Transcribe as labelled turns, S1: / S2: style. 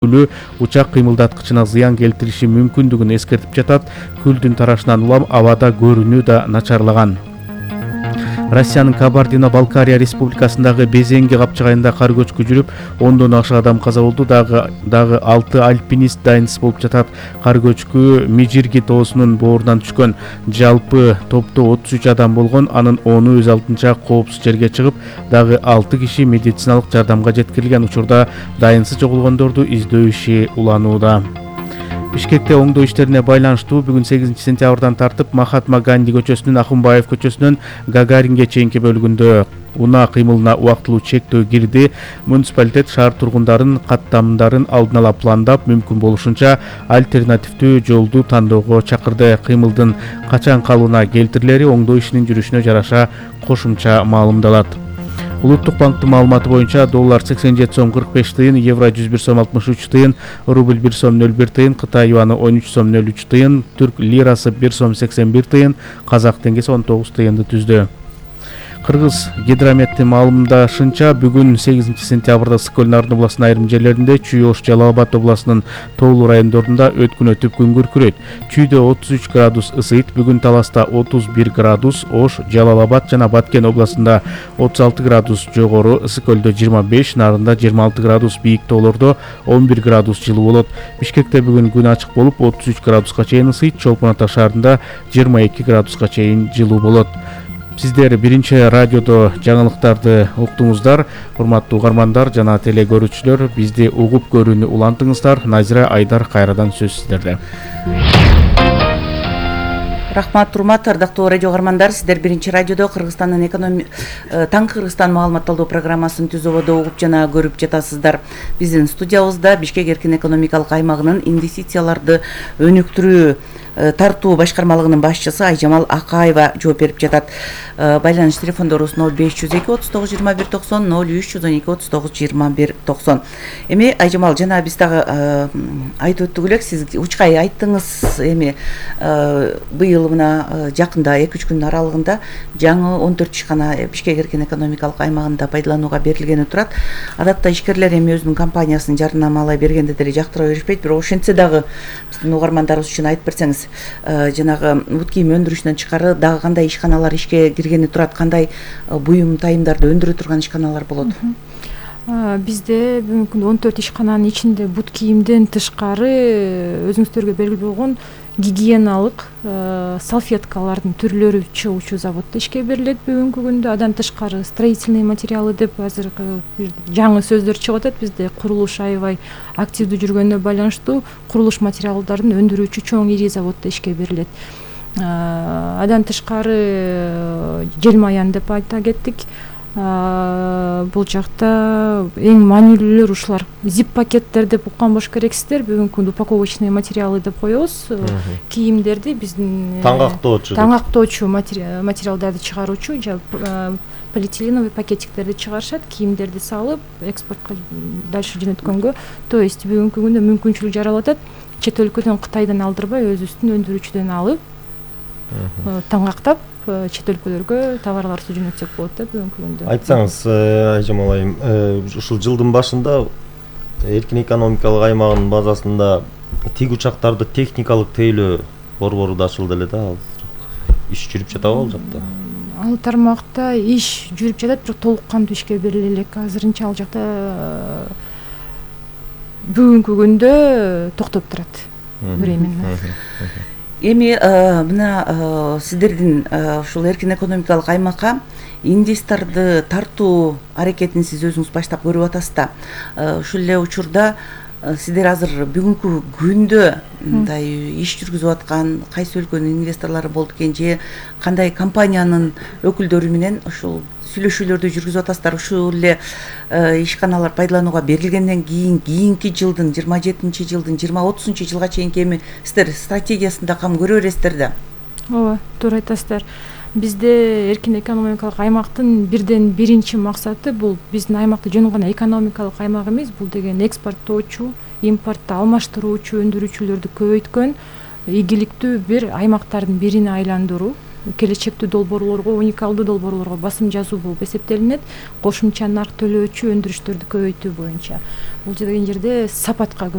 S1: учак кыймылдаткычына зыян келтириши мүмкүндүгүн эскертип жатат. Күлдүн тарашынан улам абада көрүнүү да начарлаган. Россиянын Кабардино-Балкария республикасындагы Безенги капчыгайында кар көчкү жүрүп, 10дон ашык адам каза болду. Дагы 6 альпинист дайынсыз болуп жатат. Кар көчкү Мижирги тоосунун боорунан түшкөн. Жалпы топто 33 адам болгон. Анын 10-у өз алдынча коопсуз жерге чыгып, дагы 6 киши медициналык жардамга жеткирилген. Учурда дайынсыз жоголгондорду издөө иши уланууда. Бишкекте оңдоо иштерине байланыштуу бүгүн 8 сентябрдан тартып Махатма Ганди көчөсүнөн Ахунбаев көчөсүнөн Гагаринге чейинки бөлүгүндө унаа кыймылына убактылуу чектөө кирди. Муниципалитет шаар тургундарын каттамдарын алдын ала пландап, мүмкүн болушунча альтернативдүү жолду тандоого чакырды. Кыймылдын качан калыбына келтирилери оңдоо ишинин жүрүшүнө жараша кошумча маалымдалат. Улуттук банктын маалыматы боюнча доллар 87 сом 45 тыйын, евро 101 сом 63 тыйын, рубль 1 сом 01 тыйын, Кытай юаны 13 сом 03 тыйын, түрк лирасы 1 сом 81 тыйын, казак теңгеси 19 тыйынды түздү. Кыргыз гидрометтин маалымдашынча бүгүн 8 сентябрда Ысык-Көл Нарын областынын айрым жерлеринде, Чүй-Ош, Жалал Абад областынын тоолуу райондорунда өткүнөтүп күн күркүрөйт. Чүйдө 33 градус ысыйт, бүгүн Таласта 31 градус, Ош, Жалал Абад жана Баткен областында 36 градус жогору, Ысык-Көлдө 25, Нарында 26 градус, бийик тоолордо 11 градус жылуу болот. Бишкекте бүгүн күн ачык болуп 33 градуска чейин ысыйт, Чолпон Ата шаарында 22 градуска чейин жылуу болот. Сиздер биринчи радиодо жаңылыктарды уктуңуздар. Урматтуу угармандар жана теле көрүүчүлөр, бизди угуп көрүүнү улантыңыздар. Назира Айдар кайрадан сөз сиздерде.
S2: Рахмат, урмат, ардактуу радио угармандар, сиздер биринчи радиодо Кыргызстандын таңкы Кыргызстан маалымат алуу программасын түзүүбөдө угуп жана көрүп жатасыздар. Биздин студиябызда Бишкек эркин экономикалык аймагынын инвестицияларды өнүктүрүү тартуу башкармалыгынын башчысы Айжамал Акаева жооп берип жатат. Байланыш телефондорубуз 0502 39 21 90, 0312 39 21 90. Эми Айжамал, жана биз дагы айтып өттүк элек, сиз учкай айттыңыз, эми быйыл мына жакында 2-3 күн аралыгында жаңы 14 ишкана Бишкек эркин экономикалык аймагында пайдаланууга берилгени турат. Адатта ишкерлер эми өзүнүн компаниясын жарнамалай бергенде деле жактыра беришпейт, бирок ошентсе дагы биздин угармандарыбыз үчүн айтып берсеңиз, жанагы бут кийим өндүрүшүнөн тышкары дагы кандай ишканалар ишке киргени турат, кандай буюм тайымдарды өндүрө турган ишканалар болот?
S3: Бизде бүгүнкү күндө 14 ишкананын ичинде бут кийимден тышкары өзүңүздөргө белгилүү болгон гигиеналык салфеткалардын түрлөрү чыгуучу заводдо ишке берилет бүгүнкү күндө. Адан тышкары строительный материалы деп азыркы жаңы сөздөр чыгып атат. Бизде курулуш аябай активдүү жүргөнүнө байланыштуу курулуш материалдарын өндүрүүчү чоң ири заводдо ишке берилет. Адан тышкары Желмаян деп айта кеттик. Бул жакта эң маанилүүлөр ушулар. Зип пакеттер деп уккан болуш керексиздер. Бүгүнкү күндө упаковочный материалы деп коебуз. Кийимдерди биздин таңактоочу материалдарды чыгаруучу полиэтиленовый пакетиктерди чыгарышат. Кийимдерди салып экспортко дальше жөнөткөнгө, то есть бүгүнкү күндө мүмкүнчүлүк жаралып атат. Чет өлкөдөн, Кытайдан алдырбай өзүбүздүн өндүрүүчүдөн алып таңактап чет өлкөлөргө товарларды жөнөтсөк болот да бүгүнкү күндө.
S4: Айтсаңыз, Айжамал айым, ушул жылдын башында эркин экономикалык аймагынын базасында тиг учактарды техникалык тейлөө борбору да ачылды эле да. Иш жүрүп жатабы ал жакта?
S3: Ал тармакта иш жүрүп жатат, бирок толук кандуу ишке бериле элек. Азырынча ал жакта бүгүнкү күндө токтоп турат временно.
S2: Эми мына сиздердин ушул эркин экономикалык аймакка инвесторду тартуу аракетин сиз өзүңүз баштап көрүп атасыз да. Ушул эле учурда сиздер азыр бүгүнкү күндө мындай иш жүргүзүп аткан кайсы өлкөнүн инвесторлору болду экен, же кандай компаниянын өкүлдөрү менен ушул сүйлөшүүлөрдү жүргүзүп атасыздар? Ушул эле ишканалар пайдаланууга берилгенден кийинки жылдын 27-жылдын 20-30 жылга чейинки эми сиздер стратегиясында кам көрө бересиздер да?
S3: Ооба, туура айтасыздар. Бизде эркин экономикалык аймактын бирден биринчи максаты бул биздин аймакты жөн гана экономикалык аймак эмес, бул деген экспорттоочу, импортто алмаштыруучу өндүрүүчүлөрдү көбөйткөн игиликтүү бир аймактардын бирине айландыруу. келечектүү долбоорлорго, уникалдуу долбоорлорго басым жасоо болуп эсептелинет. Кошумча нарк төлөөчү өндүрүштөрдү көбөйтүү боюнча. Бул деген жерде сапатка